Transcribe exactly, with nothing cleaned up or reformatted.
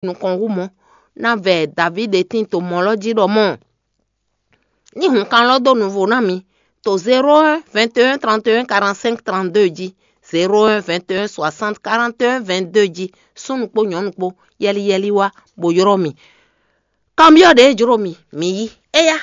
nukɔn hú mɔ̌, ná vɛ Davídi tín to mɔ̌ lɔ́ jí ɖɔ mɔ̌, ní hun kan lɔ́ dó nuvo ná mi to zéro un vingt et un trente et un quarante-cinq trente-deux jí, zéro un vingt et un soixante quarante et un vingt-deux jí, súnnu kpó nyɔ̌nu kpó, yɛliyɛli wá, bó ylɔ́ mi. Kanbyɔ́ ɖě jló mi, mi yí. Éyá,